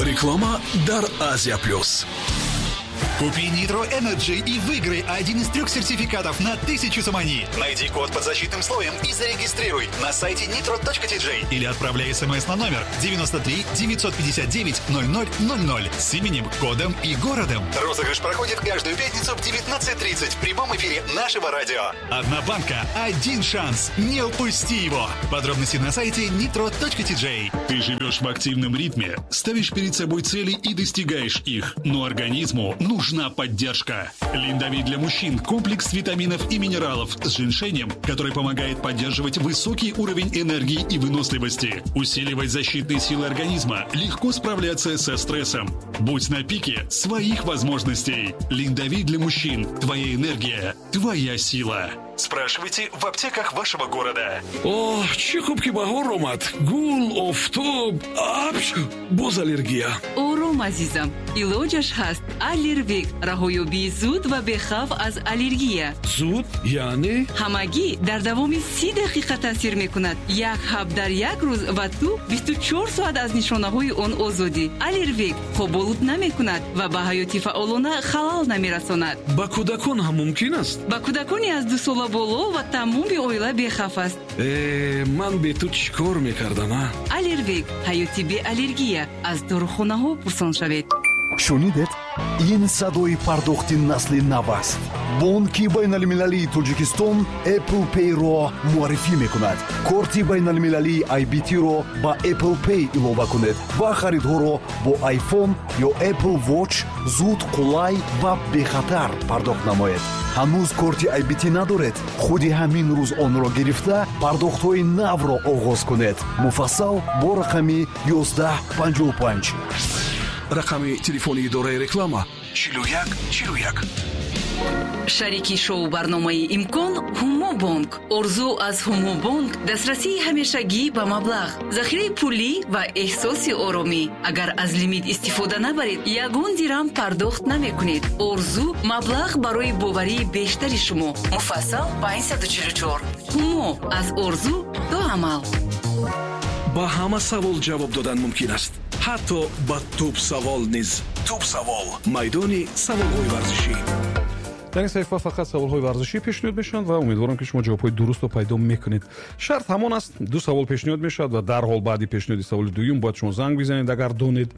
Реклама дар Азия Плюс. Купи Nitro Energy и выиграй один из трех сертификатов на 1000 сомони. Найди код под защитным слоем и зарегистрируй на сайте nitro.tj или отправляй смс на номер 93 959 0000 с именем, кодом и городом. Розыгрыш проходит каждую пятницу в 19:30 в прямом эфире нашего радио. Одна банка, один шанс. Не упусти его. Подробности на сайте nitro.tj. Ты живешь в активном ритме, ставишь перед собой цели и достигаешь их, но организму нужна поддержка. Линдовит для мужчин – комплекс витаминов и минералов с женьшенем, который помогает поддерживать высокий уровень энергии и выносливости, усиливать защитные силы организма, легко справляться со стрессом. Будь на пике своих возможностей. Линдовит для мужчин – твоя энергия, твоя сила. Спрашивайте в аптеках вашего города. Оҳ, чӣ хуб, ки баҳор омад! Гул, офтоб, апч, боз аллергия. Ором, азизам, илоҷаш ҳаст. Аллервек — раҳоёбии зуд ва бехавф аз аллергия. Зуд яъне? Ҳамагӣ дар давоми 30 дақиқа таъсир мекунад. Як ҳаб дар як рӯз, ва ту 24 соат аз нишонаҳои он озодӣ. Аллервек хоболуд намекунад ва ба ҳаёти фаъолона халал намерасонад. Ба кӯдакон ҳам мумкин аст? Ба кӯдакони аз 2 сола боло ва тамоми оила бехавф аст. Э, ман бе ту чӣ кор мекардам, а? Аллервек — ҳаёти беаллергия. Аз дорухонаҳо пурсон шавед. Шунидед? Ин садои пардохти насли нав аст. Бонки байналмилалии Тоҷикистон Apple Pay-ро муаррифӣ мекунад. Корти байналмилалии IBT-ро ба Apple Pay илова кунед ва харидҳоро бо iPhone ё Apple Watch зуд, қулай ва бехатар пардохт намоед. Ҳанӯз корти IBT надоред? Худи ҳамин рӯз онро гирифта, пардохтҳои навро оғоз кунед. Муфассал бо рақами 1155. Рақами телефони идораи реклама: 41 41. Шарики шоу барномаи «Имкон» Ҳумо Бонк. Орзу аз Ҳумо Бонк: дастрасии ҳамешагӣ ба маблағ, захираи пулӣ ва эҳсоси оромӣ. Агар аз лимит истифода набаред, ягон дирам пардохт намекунед. Орзу: маблағ барои боварии бештари шумо. Муфассал 544. Ҳумо: аз орзу то амал. Ба ҳама савол ҷавоб додан мумкин аст, ҳатто ба туп савол низ. Туп савол — майдони саволҳои варзишӣ. Дар ин саҳифа фақат саволҳои варзишӣ пешниҳод мешаванд ва умедворам, ки шумо ҷавобҳои дурустро пайдо мекунед. Шарт ҳамон аст: ду савол пешниҳод мешавад ва дарҳол баъди пешниҳоди саволи дуюм бояд шумо занг бизанед, агар донед,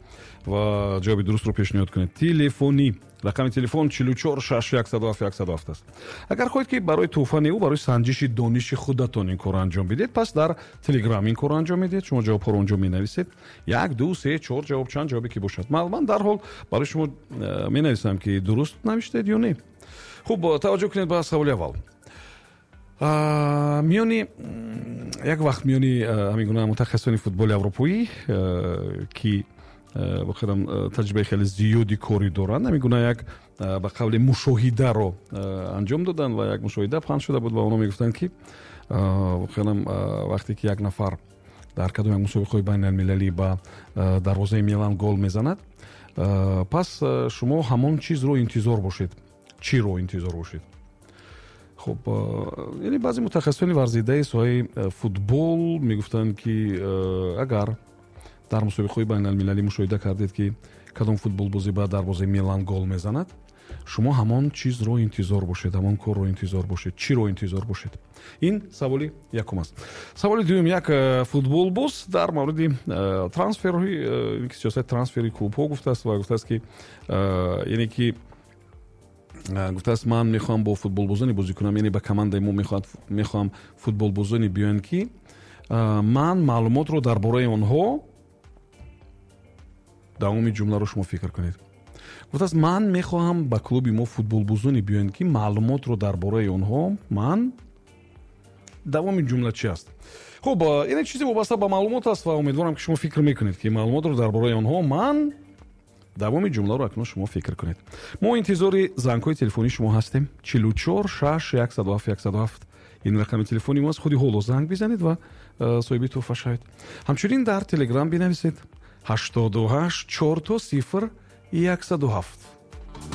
ва ҷавоби дурустро пешниҳод кунед. Телефонӣ, рақами телефон 44 6 107 107 аст. Агар хоҳед, ки барои тӯҳфа неву барои санҷиши дониши худатон ин корро анҷом бидиҳед, пас дар Телеграм ин корро анҷом медиҳед. Шумо ҷавобҳоро онҷо менависед: як, ду, се, чор ҷавоб, чанд ҷавобе ки бошад. Ман дарҳол барои шумо менависам, ки дуруст навиштаед ё не. Хуб, таваҷҷӯҳ кунед ба саволи аввал. Миёни як вақт миёни ҳамин гуна мутахассисони футболи аврупоӣ, ки воқеан таҷрибаи хеле зиёди корӣ доранд, ҳамин гуна як ба қавли мушоҳидаро анҷом доданд ва як мушоҳида паҳн шуда буд ва онҳо мегуфтанд, ки воқеан вақте ки як нафар дар кадом як мусобиқаҳои байналмилалӣ ба дарвозаи Милан гол мезанад, пас шумо ҳамон чизро интизор бошед. Чиро интизор бошед? Хуб, яъне баъзе мутахассисони варзидаи соҳаи футбол мегуфтанд, ки агар дар мусобиқаҳои байналмилалӣ мушоҳида кардед, ки кадом футболбозӣ ба дарвозаи Милан гол мезанад, шумо ҳамон чизро интизор бошед, ҳамон корро интизор бошед. Чиро интизор бошед? Ин саволи якум аст. Саволи дуюм: як футболбоз дар мавриди трансферҳои, сиёсати трансфери клубҳо гуфтааст ва гуфтааст, ки яъне ки гуфтааст: «Ман мехоҳам бо футболбозоне бозӣ кунам, яъне ба командаи мо мехоҳам футболбозоне биёянд, ки ман маълумотро дар бораи онҳо». Давоми ҷумларо шумо фикр кунед. Гуфтааст: «Ман мехоҳам ба клуби мо футболбозоне биёянд, ки маълумотро дар бораи онҳо ман». Давоми ҷумла чи аст? Хуб, яъне чизе вобаста ба маълумот аст ва умедворам, ки шумо фикр мекунед, ки маълумотро дар бораи онҳо ман. Давоми ҷумларо акнун шумо фикр кунед. Мо интизори зангҳои телефонии шумо ҳастем. 44 6 107 107 — ин рақами телефони мост. Худи ҳоло занг бизанед ва соҳиби тӯҳфа шавед. Ҳамчунин дар Телеграм бинависед: 88 0000 107.